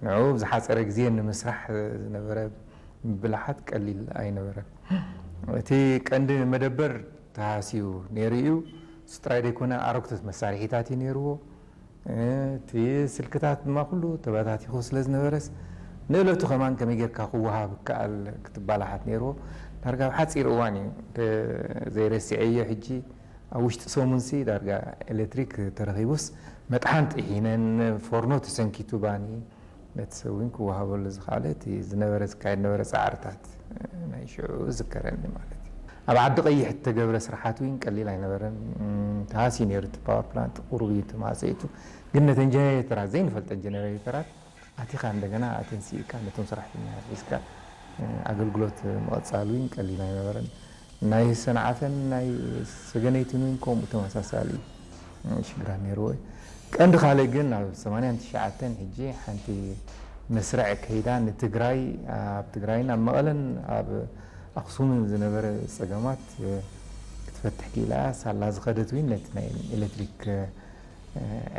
ንዑ ብዝሓፀረ ግዜ ንምስራሕ ዝነበረ ብልሓት ቀሊል ኣይነበረን። እቲ ቀንዲ መደበር ተሃስዩ ነይሩ እዩ። እሱ ጥራይ ዘይኮነ ኣረግቶት መሳርሒታት እዩ ነይርዎ። እቲ ስልክታት ድማ ኩሉ ተበታቲኹ ስለ ዝነበረስ ንእለቱ ከማን ከመይ ጌርካ ክወሃብ ይከኣል ክትባላሓት ነይርዎ። ዳርጋ ኣብ ሓፂር እዋን እዩ ዘይረስዐዮ። ሕጂ ኣብ ውሽጢ ሰሙንሲ ዳርጋ ኤሌክትሪክ ተረኺቡስ መጥሓን ጥሒነን፣ ፎርኖ ተሰንኪቱ፣ ባኒ ነቲ ሰብ እውን ክወሃበሉ ዝኸኣለ እቲ ዝነበረ ዝካየድ ነበረ ፃዕርታት ናይ ሽዑ ዝከረኒ ማለት እዩ። ኣብ ዓዲ ቀይሕ እተገብረ ስራሓት እውን ቀሊል ኣይነበረን። ተሃሲ ነይሩ። እቲ ፓወር ፕላንት ቁሩብ እዩ ተማፀይቱ፣ ግን ነተን ጀነሬተራት ዘይንፈልጠን ጀነሬተራት ኣቲኻ እንደገና ኣተንሲእካ ነቶም ሰራሕተኛ ሒዝካ ኣገልግሎት ምቕፃል እውን ቀሊል ኣይነበረን። ናይ ሰንዓፈን ናይ ሰገነይትን እውን ከምኡ ተመሳሳሊ ሽግራት ነይርዎ እዩ። ቀንዲ ካልእ ግን ኣብ ሰማንያን ትሽዓተን ሕጂ ሓንቲ መስርዕ ከይዳ ንትግራይ፣ ኣብ ትግራይን ኣብ መቐለን ኣብ ኣኽሱምን ዝነበረ ፀገማት ክትፈትሕ ክኢላ ሳላ ዝኸደት እውን ነቲ ናይ ኤሌክትሪክ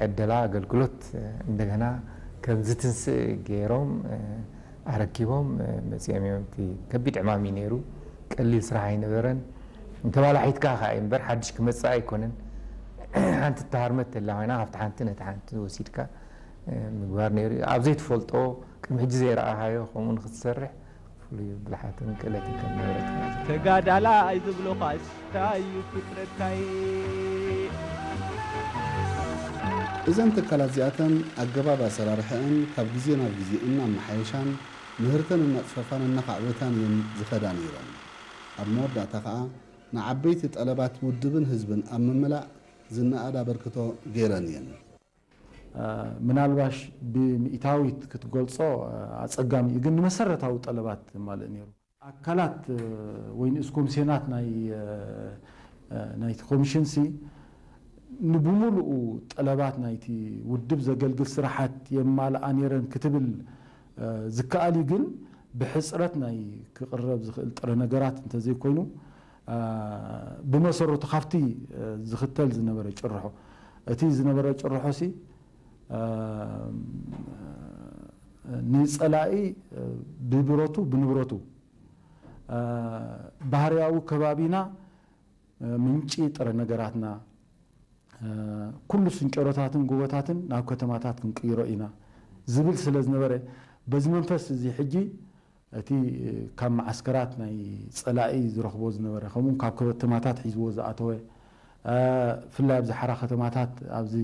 ዕደላ ኣገልግሎት እንደገና ከም ዝትንስእ ገይሮም ኣረኪቦም መፂኦም እዮም። እቲ ከቢድ ዕማም እዩ ነይሩ። ቀሊል ስራሕ ኣይነበረን። እንተባላሒትካ ከዓ እዩ እምበር ሓድሽ ክመፅእ ኣይኮነን። ሓንቲ እተሃርመት ተላ ኮይና ካብቲ ሓንቲ ነቲ ሓንቲ ወሲድካ ምግባር ነይሩ እዩ። ኣብ ዘይትፈልጦ ቅድሚ ሕጂ ዘይረኣኻዮ ከምኡ ንክትሰርሕ ፍሉይ ብልሓትን ክእለትን ከም ነበረካ እዩ። ተጋዳላይ ዝብሉኻስ እንታይ እዩ ፍጥረትካይ? እዘን ትካላት እዚኣተን ኣገባብ ኣሰራርሐአን ካብ ግዜ ናብ ግዜ እናመሓየሻን ምህርተን እናፅፈፋን እናኻዕበታን እየን ዝኸዳ ነይረን። ኣብ መወዳእታ ከዓ ንዓበይቲ ጠለባት ውድብን ህዝብን ኣብ ምምላእ ዝነኣድ ኣበርክቶ ገይረን እየን። ምናልባሽ ብሚእታዊት ክትገልጾ ኣጸጋሚ እዩ፣ ግን ንመሰረታዊ ጠለባት የማልእ ነይሩ። ኣካላት ወይ ንኡስ ኮሚስዮናት ናይ ናይቲ ኮሚሽን ሲ ንብሙሉኡ ጠለባት ናይቲ ውድብ ዘገልግል ስራሓት የማልኣ ነይረን ክትብል ዝከኣል እዩ፣ ግን ብሕጽረት ናይ ክቕረብ ዝኽእል ጥረ ነገራት እንተዘይኮይኑ ብመሰረቱ ካብቲ ዝኽተል ዝነበረ ጭርሖ እቲ ዝነበረ ጭርሖ ሲ ንጸላኢ ብብረቱ ብንብረቱ ባህርያዊ ከባቢና ምንጪ ጥረ ነገራትና ኩሉ ስንጨሮታትን ጎቦታትን ናብ ከተማታት ክንቅይሮ ኢና ዝብል ስለ ዝነበረ በዚ መንፈስ እዚ ሕጂ እቲ ካብ መዓስከራት ናይ ጸላኢ ዝረኽቦ ዝነበረ ከምኡ ካብ ከተማታት ሒዝዎ ዝኣተወ ብፍላይ ኣብዚ ሓራ ከተማታት ኣብዚ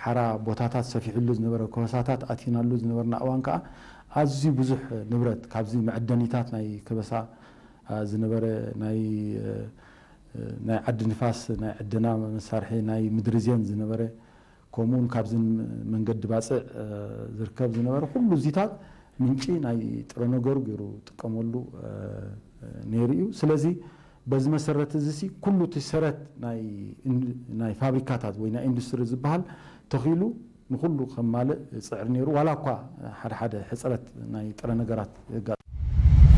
ሓራ ቦታታት ሰፊሕሉ ዝነበረ ከበሳታት ኣቲናሉ ዝነበርና እዋን ከዓ ኣዝዩ ብዙሕ ንብረት ካብዚ መዐደኒታት ናይ ከበሳ ዝነበረ ናይ ናይ ዓዲ ንፋስ ናይ ዕደና መሳርሒ ናይ ምድሪ ዜን ዝነበረ ከምኡውን ካብዚ መንገዲ ባፅዕ ዝርከብ ዝነበረ ኩሉ እዚታት ምንጪ ናይ ጥረ ነገሩ ገይሩ ጥቀመሉ ነይሩ እዩ። ስለዚ በዚ መሰረት እዚ ሲ ኩሉ እቲ ሰረት ናይ ፋብሪካታት ወይ ናይ ኢንዱስትሪ ዝበሃል ተኺሉ ንኩሉ ከማልእ ዝፅዕር ነይሩ። ዋላ እኳ ሓደ ሓደ ሕፅረት ናይ ጥረ ነገራት የጋጥም